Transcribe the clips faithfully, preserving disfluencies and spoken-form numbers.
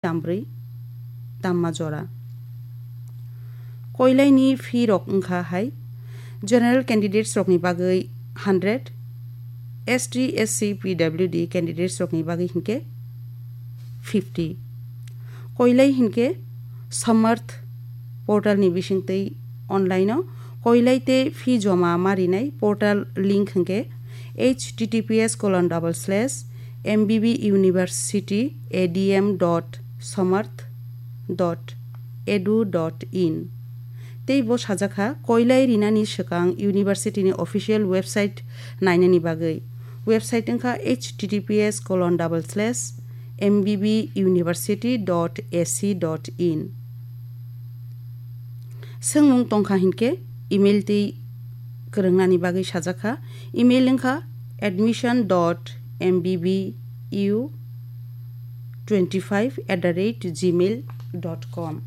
tambrwi tamma jora. Koilaini fee rok wngkha hai, general candidates rokni bagwi hundred, S T, S C, P W D candidates rokni bagwi hinkhe fifty. Koilai hinkhe Samarth portal ni bisingtwi online o koilai tei fee joma ma rinai portal link hinkhe H T T P S colon double slash M B B university A D M dot samarth dot edu dot in. Tei bo sajak kha, koilai rinani swkang university ni official website nainani bagwi. Website wngkha H T T P S colon double slash M B B university dot A C dot in. Swngmung tongkha hinkhe email twi kwrwngnani bagwi sajak kha. Email wngkha admission dot M B B U twenty five at the rate gmail dot com.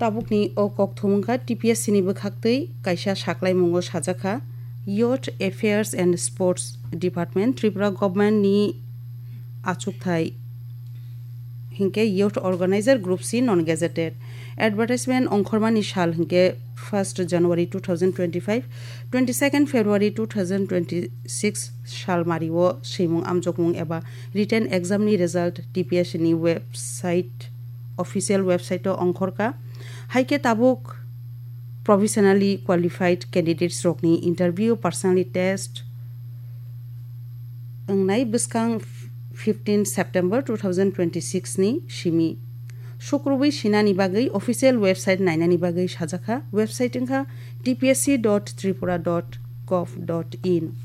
Tabukni o kokthum wngkha T P S C ni bwkhaktwi kaisa saklaimungo sajak kha, Youth Affairs and Sports Department, Tripura Government ni achukthai hinkhe Youth Organizer Group C non gazetted. Advertisement ongkhormani sal hinkhe first January two thousand twenty-five, twenty-second February two thousand twenty-six sal mario swimung amjokmung eba written exam ni result T P S C ni website, official website o ongkhorkha. Haikhe tabuk professionally qualified candidates rokni interview, personally test wngnai bwskang fifteen September two thousand twenty-six ni simi. Sukrubwi sinani bagwi official website nainani bagwi sajak kha. Website wngkha T P S C dot tripura dot gov dot in.